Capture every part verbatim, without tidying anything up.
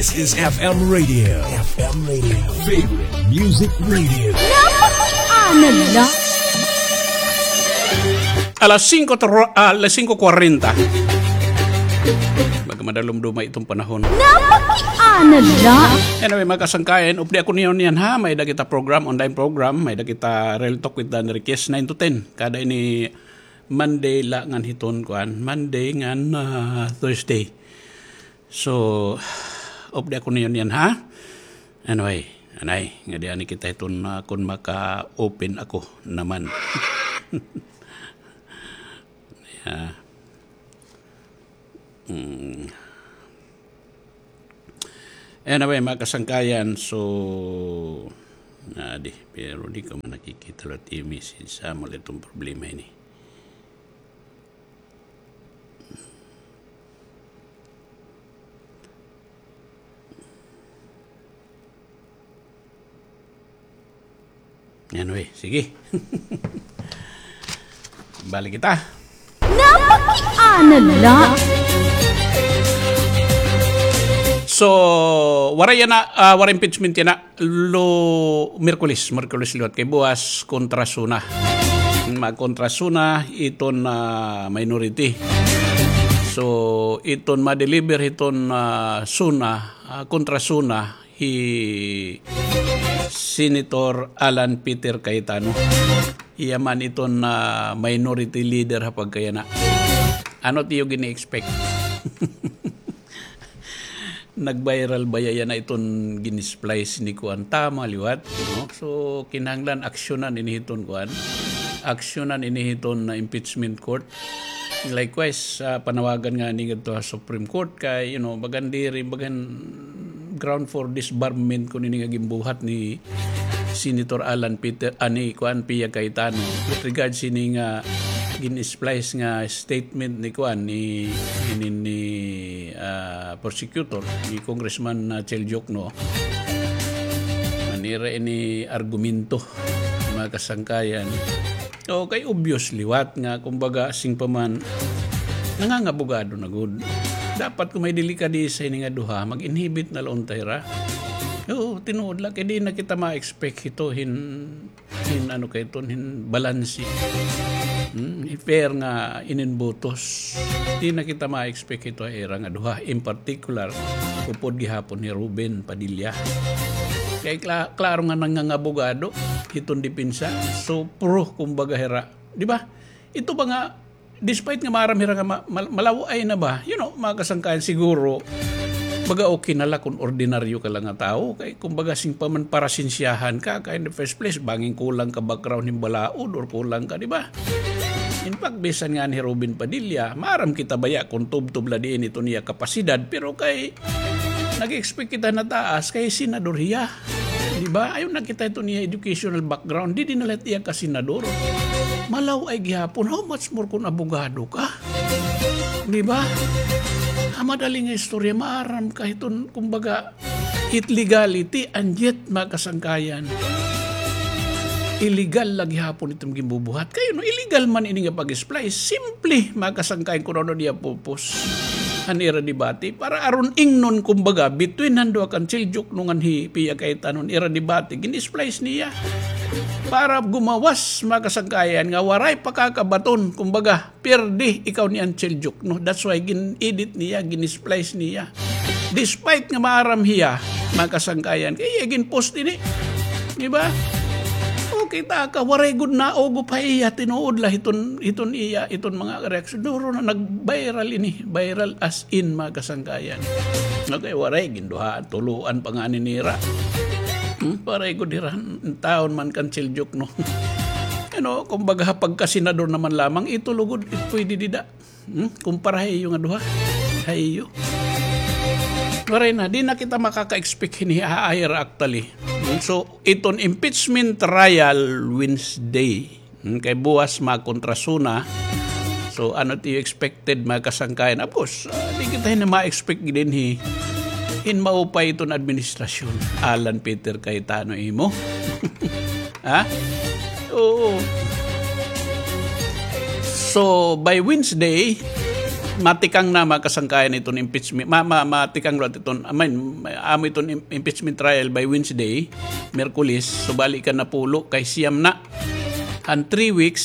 This is F M Radio. F M Radio. Favorite Music Radio. Napakiana la. Alas singko tro-, ah, alas singko kwarenta. Magmadalumduma iton panahon. Napakiana la. Anyway, mga kasangkayan, updi ako niyo niyan, ha. May-ada kita program, online program, may-ada kita Real Talk with Dan Enriquez, nine to ten. Kada ini Monday la ngan hiton kuan, Monday ngan, ah, Thursday. So, updi ako niyo niyan, ha? Anyway, anay, ngadi anay kita hiton, ah, kon maka-open ako naman. Yeah. Mm. Anyway, mga kasangkayan, so, ngadi, pero di ko man nakikita liwat it message. Amo la iton problema ini. Anyway, sige. Balik kita. Napakiana la. So, waray yana, ah, waray impeachment yana. Lu-, Miyerkules, Miyerkules liwat kay buwas kontra SONA. Magkontra SONA iton, ah, minority. So, iton ma-deliver hiton, ah, SONA, ah, kontra SONA, hi Senator Alan Peter Cayetano. Iya man iton, ah, minority leader ha pagkayana. Ano it iyo gini-expect? Nag-viral baya yana iton gin-splice ni kuan, tama liwat, no? So, kinahanglan aksyonan ini hiton kuan. Aksyonan ini hiton na impeachment court. Likewise, ah, panawagan ngani ngadto ha Supreme Court kay, you know, bagan diri, bagan ground for disbarment kon ini nga ginbuhat ni Senator Alan Peter, ani, kuan, Pia Cayetano. With regards ini nga gin-splice nga statement ni kuan, ni, ni, ni, ah, prosecutor, ni Congressman, ah, Chel Diokno. Manira ini argumento, mga kasangkayan. O, kay obvious liwat nga, kumbaga, sing pa man, nangangabogado na gud. Dapat kon may delikadesa ini nga duha, mag-inhibit na la unta hira. Oo, tinuod la, kay di na kita ma-expect hito hin, hin ano kay iton, hin balanse. Hmm, fair nga inin botos. Di na kita ma-expect hito ha ira nga duha. In particular, upod gihapon hi Robin Padilla. Kay kla-, klaro nga nangangabogado hiton depensa. So, pro, kumbaga, hira. Di ba? Ito ba nga, despite nga maaram hira nga ma-, mal-, malaw-ay na ba? You know, mga kasangkayan, siguro, baga okay na la kon ordinaryo ka la nga tawo. Kay, kumbaga, sing pa man parasensyahan ka, kay in the first place, bangin kulang ka background hin balaod or kulang ka, di ba? In fact, bisan ngani hi Robin Padilla, maaram kita baya kon tubtob la diin iton iya kapasidad, pero kay nag-expect kita na taas, kay senador hiya. Di ba? Ayaw na kita iton iya educational background, didi na la it iya kasenador. Malaw-ay gihapon, how much more kon abogado ka? Di ba? Ha madali nga istorya, maaram ka hiton, kumbaga, it legality, and yet, mga kasangkayan, illegal la gihapon iton ginbubuhat. Kay, no, illegal man ini nga pag-splice, simple, mga kasangkayan, kon ano it iya purpose han ira debate. Para aron ingnon, kumbaga, between han duha kan Chel Diokno ngan hi Pia Cayetano, ira debate, gin-splice niya. Para gumawas, mga kasangkayan, nga waray pakakabaton, kumbaga, pirdi ikaw ni Angel Duke, no? That's why gin-edit niya, gin-splice niya. Despite nga maaram hiya, mga kasangkayan, kay iya gin-post ini. Di ba? O, kita ka, waray gud naugop ha iya, tinuod la hiton, hiton iya, hiton mga reaksyon. Duro na nag-viral ini, viral as in, mga kasangkayan. Okay, waray, ginduha, tuluan pa ngani nira. Hmm? Waray gud hira, taon man kan Angel Duke, no? Ano, kumbaga, pagkasenador naman lamang, ito lugod, it pwede dida. Hmm? Kumpara ha iyo nga duha. Ha iyo. Waray na, di na kita makaka-expect hini ha ira actually. Hmm? So, iton impeachment trial Wednesday. Hmm? Kay buwas makontra SONA. So, ano it iyo expected, mga kasangkayan? Of course, ah, di kita hini ma-expect dinhi hin maupay iton administrasyon. Alan Peter Cayetano imo. Ha? Oo. So, by Wednesday, Matikang na, mga kasangkayan, iton impeachment. Ma, ma, matikang liwat iton, I mean, amo iton im-, impeachment trial by Wednesday, Miyerkules. So, bali ikanapulo kay siyam na. An three weeks,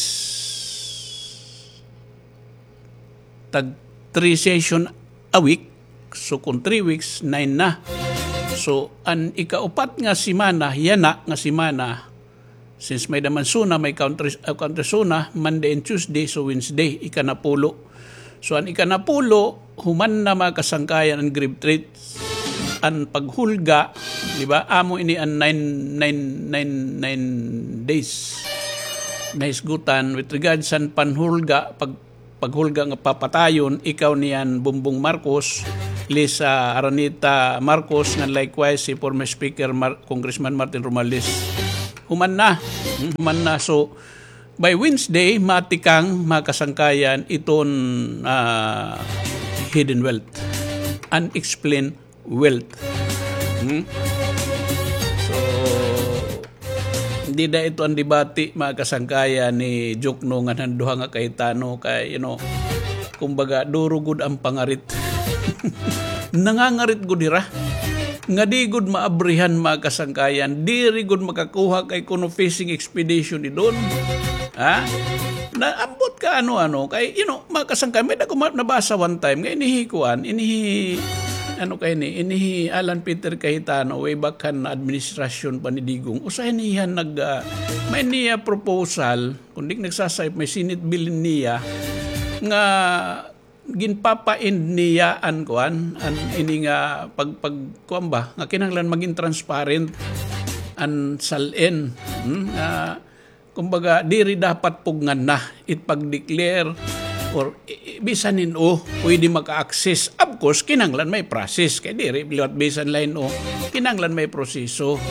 tag three session a week. So, kung three weeks, nine na. So, an ikaupat nga semana, yana nga semana, since may-ada man SONA, may country, ah, country SONA, Monday and Tuesday, so Wednesday, ikanapulo. So, an ikanapulo, human na, mga kasangkayan, an grieved threats, an paghulga, di ba? Amo ini an nine, nine, nine, nine days nahisgutan with regards san panhulga, pag paghulga nga papatayon, ikaw niyan Bongbong Marcos, Liza Araneta Marcos, ngan likewise si former Speaker Mar-, Congressman Martin Romualdez. Human na. Hmm, human na. So, by Wednesday, matikang, mga kasangkayan, iton, ah, hidden wealth. Unexplained wealth. Hmm? So, dida ito an debate, mga kasangkayan, ni Jokno ngan han duha nga kahitano kay, you know, kumbaga, duro gud an pangarit. Nangangarit gud hira. Nga di gud maabrihan, mga kasangkayan. Diri gud makakuha kay kuno fishing expedition ni Don. Ha? Naambot ka ano-ano kay, you know, mga kasangkayan, may-ada ko ma-, nabasa one time, nga inihi kuan, inihi, ano kay ni, inihi Alan Peter Cayetano, way back han administrasyon pa ni Digong. Usahay niya nag, ah, may niya proposal, kung di nagsasayop, may Senate bill niya, nga ginpapa-end niya an kuan, an ini nga pag, pag, kuan ba, nga kinahanglan maging transparent an SALN. Hmm? Nga, kumbaga, diri dapat pugngan na it pag-declare or i-, i-, bisan hin-o pwede maka-access. Of course, kinahanglan may process. Kay diri liwat bisan la hin-o. Kinahanglan may proseso.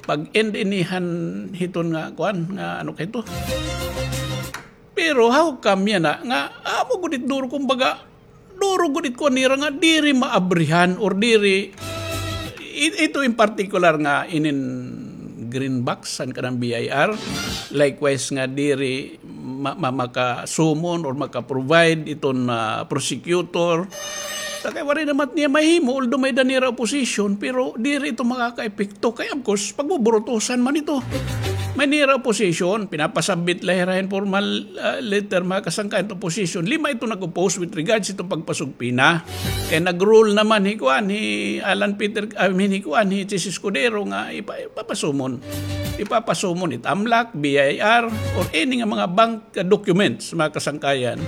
Pag-end ini han hiton nga, kuan, nga ano kay ito? Pero how come yana nga amo gud it duro, kumbaga, duro gud it kuan nira nga diri maabrihan or diri, i-, ito in particular nga inin green box han kanan B I R, likewise nga diri ma-, ma-, maka-summon or maka-provide iton, ah, prosecutor. Ta kay waray naman niya mahimo, although may-ada nira opposition, pero diri ito makakaepekto. Kay, of course, pagbuburutusan man ito. May nira opposition, pinapasabit la hira hin formal, ah, letter, mga kasangkayan, to opposition. Lima ito nag-oppose with regards ito pagpasugpina. Kay nag-rule naman hi kuan, hi Alan Peter, I mean, hi kuan, hi Chiz Escudero nga ipa-, ipapasumon. Ipapasumon it AMLAC, B I R, or any nga mga bank documents, mga kasangkayan,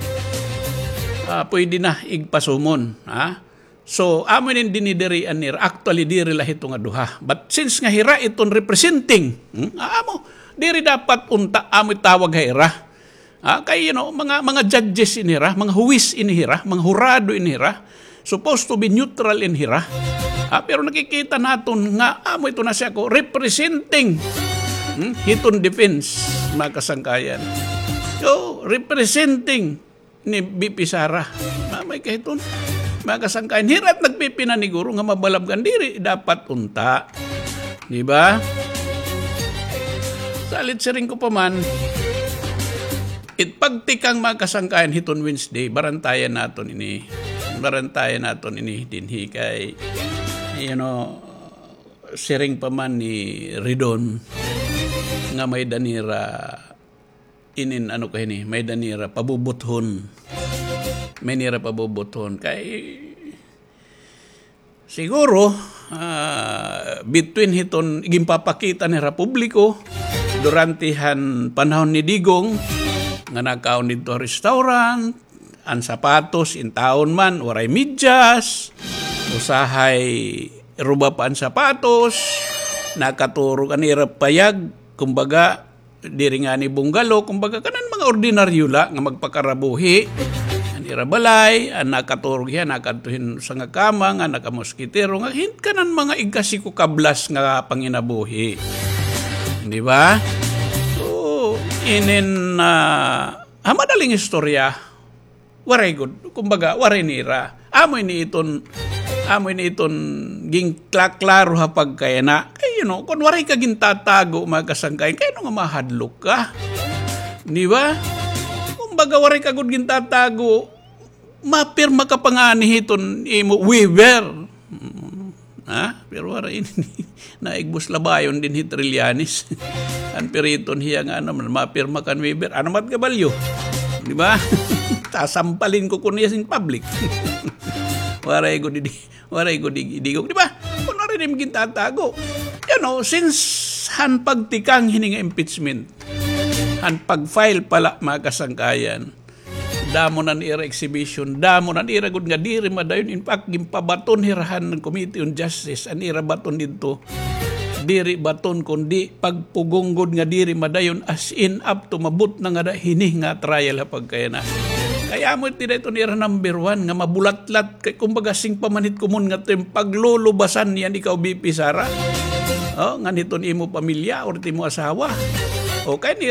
ah, pwede na igpasumon, ha? So, amo ini dinidirian nira. Actually, diri la hito nga duha. But since nga hira iton representing, hmm, ah, amo, diri dapat unta, amo itawag ha ira. Ah, kay, you know, mga, mga judges ini hira, mga huwis ini hira, mga hurado ini hira. Supposed to be neutral ini hira. Ah, pero nakikita naton nga amo ito na siya ko representing, hmm, hiton defense, mga kasangkayan. So, representing ni V P Sara. Mamay ka hiton. Mga kasangkayan, hira it nagpipinaniguro nga mabalabgan, diri dapat unta. Di ba? Salit siring ko pa man, it pagtikang, mga kasangkayan, hiton Wednesday, barantayan naton ini. Barantayan naton ini dinhi kay, you know, siring pa man ni Ridon nga may-ada nira inin ano kay ini, may-ada nira pabubuthon. May nira pabubuthon. Kay siguro, ah, between hiton ginpapakita nira publiko durante han panahon ni Digong nga nakaon didto ha restaurant, an sapatos, intawon man, waray medyas, usahay ruba pa an sapatos, nakaturog an ira payag, kumbaga, diri ngani bungalow, kumbaga, kanan mga ordinaryo la nga magpakarabuhi. An ira balay, an nakaturog hiya, nakadto hin usa nga kama nga nakamoskitero, nga hin-, kanan mga igkasi ko kablas nga panginabuhi. Di ba? So, inin, ah, ha madaling istorya, waray gud, kumbaga, waray nira. Amo ini iton, amo ini iton ginkla-klaro ha pagkayana. Kay, you know, kon waray ka gintatago, mga kasangkayan, kay ano nga mahadlok ka? Di ba? Kumbaga, waray ka gud gintatago, Mapirma ka pa ngani hiton imo waiver. Mm. Ha? Pero waray ini. Naigbos labayon dinhi Trillanes. An piriton hiya nga ano man, mapirma kan waiver. Ano mat kabalyo? Di ba? Sasampalin ko kuno hiya sin public. Waray gud idi, waray gud idi, idigog, di ba? Kuno rin im gintatago. You know, since han pagtikang hini nga impeachment, han pag-file pa la, mga kasangkayan, damo na an ira exhibition, damo na an ira gud nga diri madayon. In fact, ginpabaton hira han Committee on Justice, an ira baton didto, diri baton kundi pagpugong gud nga diri madayon, as in up to mabot na ngada hini nga trial ha pagkayana. Kay amo iti dayton ira number one nga mabulatlat, kay kumbaga sing pamanhit komon ngadto hin paglulubasan niyan ikaw, V P Sara. O, ngan hiton imo pamilya or it imo asawa. O, kay ni